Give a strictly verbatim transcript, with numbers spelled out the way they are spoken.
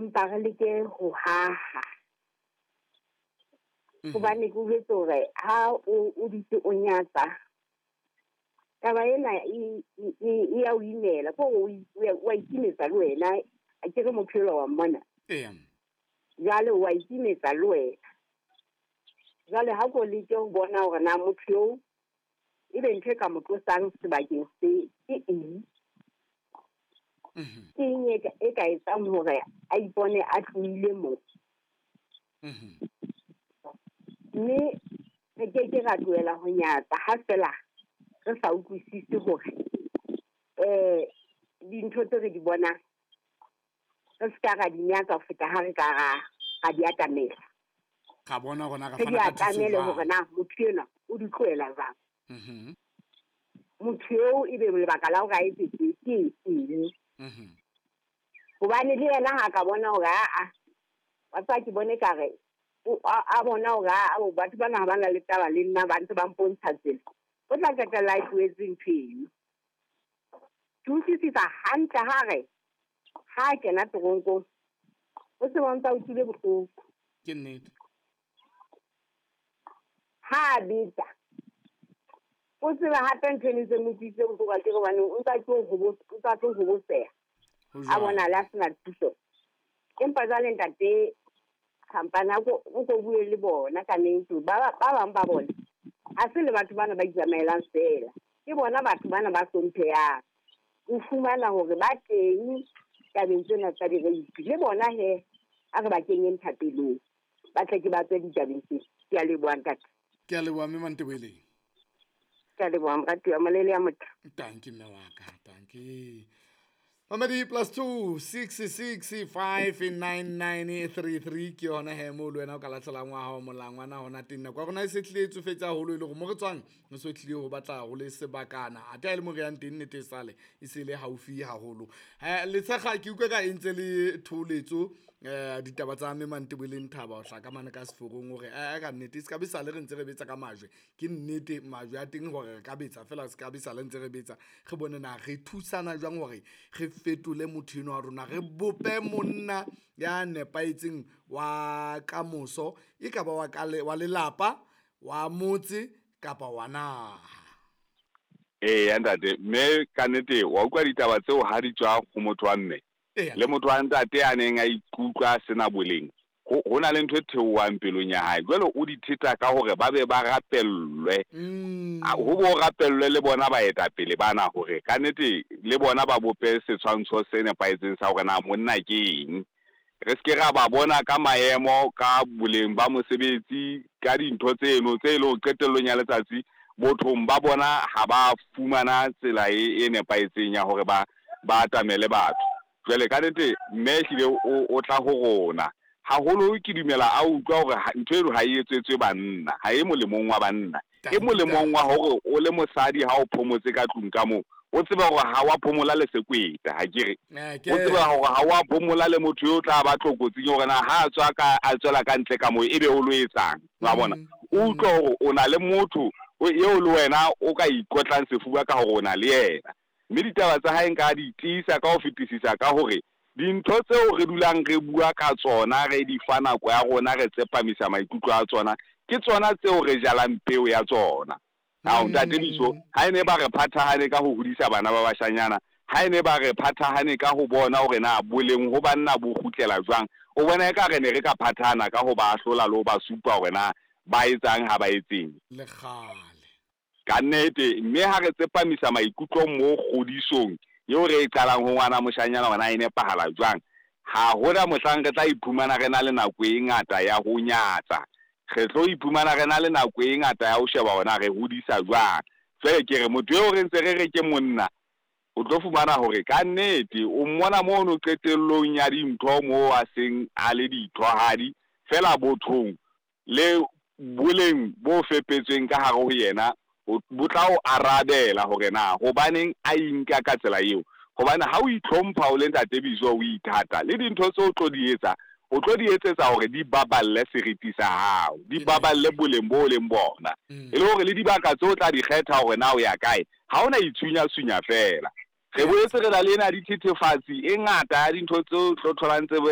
Empa re leke ho haha. Hobane ke utlwetse hore ha o o dutse o nyatsa, taba ena e e e ya o imela, ke hore o wa ikimetsa le wena. Akere motho enwa wa mmona? Eya. Jwale wa ikimetsa le wena. Jwale ha ko leke ho bona hore na motho eo ebe ntho e ka mo tlosang sebakeng se ke eng. Ke eng e ka, e ka etsang hore a ipone a tlohile moo. Mme re ke ke ra tlohela ho nyatsa ha fela re sa utlwisise hore eh dintho tse re di bonang re se ka ra di nyatsa ho feta ha re ka ra ra di atamela. Ra bona hore na re Re di fana ka thuso atamele jwang. hore na motho enwa o di tlohela jwang. Mhm. Motho eo ebe lebaka la hore a etse tje ke eng. Mhm. Hobane le yena ha ka bona hore aa, wa tseba ke bone ekare o a, a bona hore aa, batho bana ha ba na le taba le nna, ba ntse ba mpontsha tsela. O tla qetella a tlohetse ntho eno. Ke utlwisisa hantle ha re ha a kena toronkong, o se ba ntse a utlwile bohloko. Ke nnete. Ha a beta, o tsebe hape ntho e ntse mo utlwisitse bohloko akere, hobane o ntsa tlo hobo-, o ntsa tlo hoboseha. Ho A jwalo. bona le a sena thuso. Empa jwale ntate Khampane, ha ko, o ko bue le bona ka nnete. Ba ba, ba bang ba bona ha se le batho bana ba itsamaelang feela, ke bona batho bana ba hlomphehang. O fumana hore ba teng tabeng tsena tsa di-rape, le bona he a re ba kenyeng thapelong, ba tle ke ba tswe ditabeng tsena. Ke a leboha ntate. Ke a leboha mme Mantebeleng. Ke a leboha moratuwa, molele ya motho. Tanki mme wa ka, tanki. Mamedi plus two six six five nine nine three three ke yona he mo le wena o ka lahlelang wa hao molangwana hona teng. Nako ya rona e se tlile e tsofetse haholo e le hore mo re tswang re so tlile ho batla ho le sebakana. Athe ha e le mo re yang teng nnete e sale e se le haufi haholo. Eh, Letshekga ke utlwe ka e ntse le thoholetso, eh, ditaba tsa mme Mantebeleng Thaba ho hlaka mane ka seforong hore, eh, ka nnete e se ka be sale re ntse re betsa ka majwe. Ke nnete majwe a teng hore re ka betsa feela, se ka be sale ntse re betsa. Re bone na re thusana jwang hore re fetole motho enwa wa rona, re bope monna ya nepahetseng wa kamoso, e ka ba wa ka le, wa lelapa, wa motse kapa wa naha. Eya ntate, mme ka nnete wa utlwa ditaba tseo ha di tswa ho motho wa mme. Eya. Le motho wa ntate a neng a ikutlwa a sena boleng, ho, ho na le ntho e theohang pelong ya hae. Jwale o di theta ka hore ba be ba rapellwe. Mm. A, ho bo rapellwe le bona baetapele bana hore ka nnete le bona ba bope setshwantsho se nepahetseng sa hore na monna ke eng. Re se ke ra ba bona ka maemo, ka boleng ba mosebetsi, ka dintho tseno tse leng qetellong ya letsatsi bothong ba bona ha ba fumana tsela e, e nepahetseng ya hore ba, ba atamele batho. Jwale ka nnete mme ehlile o, o tla ho rona. Haholo ke dumela a utlwa hore ha, ntho eno ha e etsetswe banna, ha e molemong wa banna. E molemong wa hore o le mosadi ha o phomotse ka tlung ka moo, o tsebe hore ha wa phomola le sekweta, ha ke re. Eh, O ke. tsebe hore ha wa phomola le motho yo o tla ba tlokotsing hore na ha a tswa ka, a tswela ka ntle ka moo, ebe o lo etsang, wa bona. Mm. O utlwe hore o na le motho o, eo le wena o ka ikotlang sefuba ka hore o na le yena. Mme ditaba tsa hae nka di tiisa ka ho fetisisa ka hore dintho tseo re dulang re bua ka tsona, re di fa nako ya rona, re tsepamisa maikutlo a tsona, ke tsona tseo re jalang peo ya tsona. Ao, ntate Biso, ha e ne ba re phathahane ka ho hodisa bana ba bashanyana, ha e ne ba re phathahane ka ho bona hore na boleng ho banna bo kgutlela jwang, o bona ekare ne re ka phathahana ka ho ba ahlola le ho ba supa hore na ba etsang ha ba etseng. Le kgale. Ka nnete, mme ha re tsepamisa maikutlo mo kgodisong eo re e qalang ho ngwana moshanyana hore na e nepahala jwang, ha hona mohlang re tla iphumana re na le nako e ngata ya ho nyatsa. Re tlo iphumana re na le nako e ngata ya ho sheba hore na re hodisa jwang. Jwale ke re motho eo re ntse re re ke monna, o tlo fumana hore ka nnete o mmona mono qetellong ya dintho moo a seng a le dithohadi fela bothong le boleng bo fepetsweng ka hare ho yena, o, bo tla o arabela hore na hobaneng a inka ka tsela eo. Hobane ha o itlhompha o le ntate Biso, o ithata le dintho tseo o tlo di etsa, o tlo di etsetsa hore di baballe seriti sa hao, di Ke baballe nnete. boleng bo leng bona. Mm. E le hore le dibaka tseo o tla di kgetha hore na o ya kae, ha ona itshunyatshunya fela. Re boetse re na le ena dithethefatsi e ngata ya dintho tseo tlo tholang tse